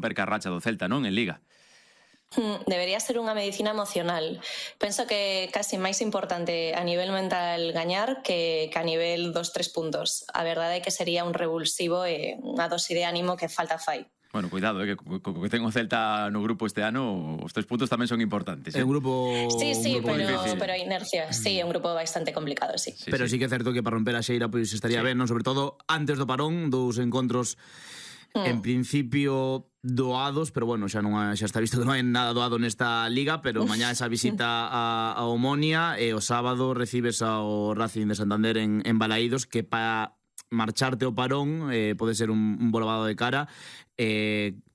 romper ca racha do Celta, non? En Liga. Debería ser unha medicina emocional. Penso que casi máis importante a nivel mental gañar que a nivel dos 3 puntos. A verdade é que sería un revulsivo e unha dose de ánimo que falta fai. Bueno, cuidado, que co que ten o Celta no grupo este ano, os 3 puntos tamén son importantes. É un grupo... Sí, difícil. pero a inercia, sí, é un grupo bastante complicado, sí. Pero sí que é certo que para romper a xeira pois estaría ben, non? Sobre todo antes do parón, dous encontros en principio doados, pero bueno, xa está visto que non hai nada doado nesta liga, pero mañá esa visita a Omonia e o sábado recibes ao Racing de Santander en Balaídos, que para marcharte ao parón pode ser un volvado de cara,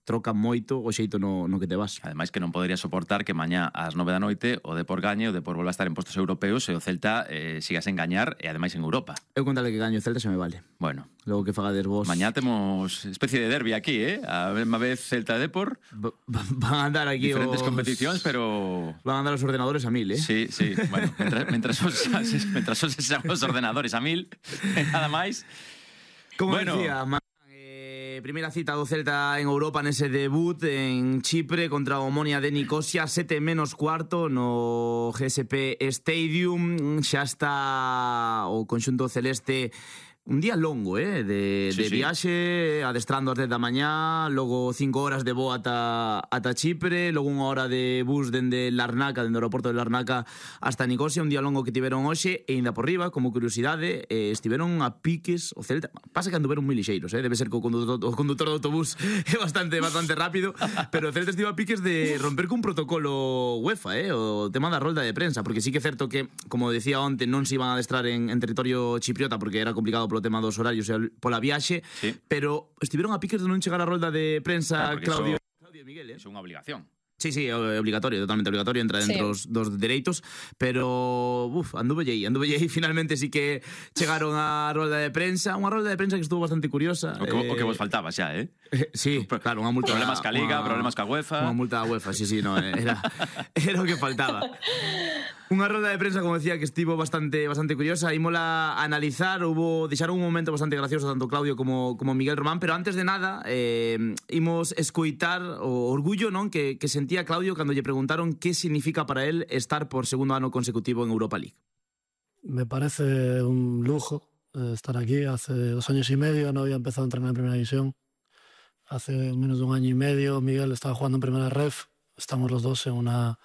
troca moito o xeito no que te vas. Ademais que non podería soportar que mañá ás 9 da noite o Depor gañe, o Depor volva a estar en postos europeos e o Celta siga sen gañar e ademais en Europa. Eu contale que gaño o Celta xa me vale. Bueno, logo que fagades vos. Mañá temos especie de derbi aquí, a mesma vez Celta e Depor. Van a andar aquí diferentes competicións, pero van a andar os ordenadores a 1000, Sí, bueno, mentras os os ordenadores a 1000, nada máis. Como decía, primeira cita do Celta en Europa nese debut en Chipre contra o Omonia de Nicosia, 7:15 no GSP Stadium. Xa está o conxunto celeste un día longo, de viaxe, adestrando ás 10 da mañá, logo 5 horas de voo ata Chipre, logo 1 hora de bus dende Larnaca, dende o aeroporto de Larnaca hasta Nicosia, un día longo que tiveron hoxe, e ainda por riba, como curiosidade, estiveron a piques o Celta. Pasa que anduveron moi lixeiros, debe ser que o condutor do autobús é bastante rápido, pero o Celta estivo a piques de romper cun protocolo UEFA, o tema da rolda de prensa, porque sí que é certo que, como decía onte, non se iban a adestrar en territorio chipriota porque era complicado polo tema dos horarios e pola viaxe, pero estiveron a piques de non chegar a rolda de prensa, Claudio e Miguel. É unha obligación. Sí, é obligatorio, totalmente obligatorio, entra dentro dos dereitos, pero anduvellei, finalmente sí que chegaron á rolda de prensa, unha rolda de prensa que estuvo bastante curiosa. O que vos faltaba xa, Sí, claro, unha multa. Problemas ca Liga, problemas ca UEFA. Unha multa da UEFA, sí, no, era o que faltaba. Unha rolda de prensa, como decía, que estivo bastante curiosa. Ímola a analizar, deixaron un momento bastante gracioso tanto Claudio como Miguel Román, pero antes de nada imos escoitar o orgullo, non, que sentía Claudio cando lle preguntaron que significa para él estar por segundo ano consecutivo en Europa League. Me parece un lujo estar aquí. Hace 2 años y medio no había empezado a entrenar en Primera División. Hace menos de 1 año y medio Miguel estaba jugando en Primera Ref. Estamos los dos en una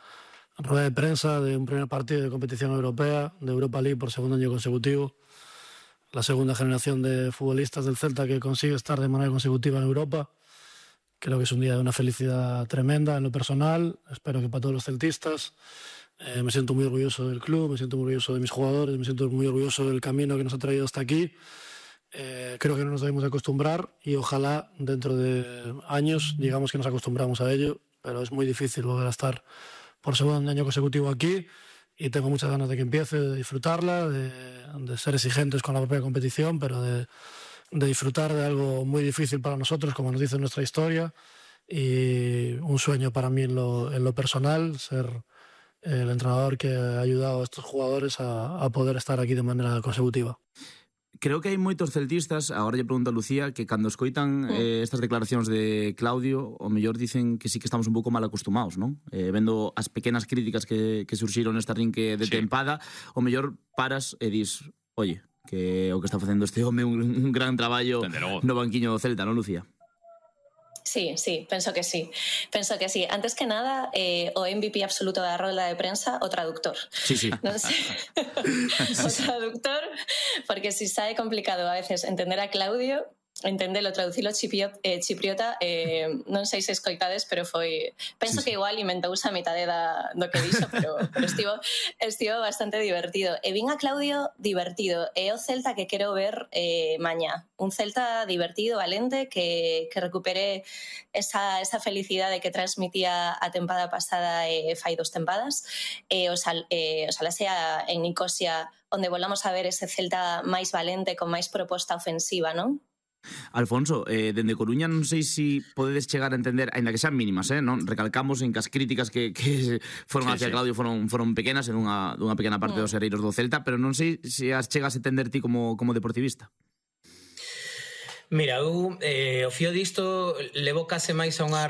rueda de prensa de un primer partido de competición europea, de Europa League por segundo año consecutivo. La segunda generación de futbolistas del Celta que consigue estar de manera consecutiva en Europa. Creo que es un día de una felicidad tremenda en lo personal. Espero que para todos los celtistas. Me siento muy orgulloso del club, me siento muy orgulloso de mis jugadores, me siento muy orgulloso del camino que nos ha traído hasta aquí. Creo que no nos debemos acostumbrar y ojalá dentro de años digamos que nos acostumbramos a ello, pero es muy difícil volver a estar por segundo año consecutivo aquí y tengo muchas ganas de que empiece, de disfrutarla, de ser exigentes con la propia competición, pero de disfrutar de algo muy difícil para nosotros, como nos dice nuestra historia, y un sueño para mí en lo personal, ser el entrenador que ha ayudado a estos jugadores a poder estar aquí de manera consecutiva. Creo que hai moitos celtistas, agora lle pregunto a Lucía, que cando escoitan estas declaracións de Claudio, o mellor dicen que sí que estamos un pouco mal acostumados, non? Vendo as pequenas críticas que surxiron nesta rinque de tempada, o mellor paras e dis, oye, que o que está facendo este home un gran traballo no banquiño do Celta, non, Lucía? Sí, penso que sí. Antes que nada, o MVP absoluto da rolda de prensa, o traductor. Sí. Non sei. O traductor, porque si sae complicado a veces entender a Claudio, entendelo, traducilo chipriota, non sei se escoitades, pero foi... Penso que igual inventouse a mitade do que dixo, pero estivo bastante divertido. E vin a Claudio divertido. É o Celta que quero ver mañá. Un Celta divertido, valente, que recupere esa felicidade que transmitía a tempada pasada fai 2 tempadas. Oxalá sea en Nicosia onde volvamos a ver ese Celta máis valente, con máis proposta ofensiva, non? Alfonso, dende Coruña non sei se podedes chegar a entender, aínda que sean mínimas, non? Recalcamos en que as críticas que foron hacia Claudio foron pequenas en dunha pequena parte dos hereiros do Celta, pero non sei se as chegas a entender ti como deportivista. Mira, eu o fío disto levo case máis a unha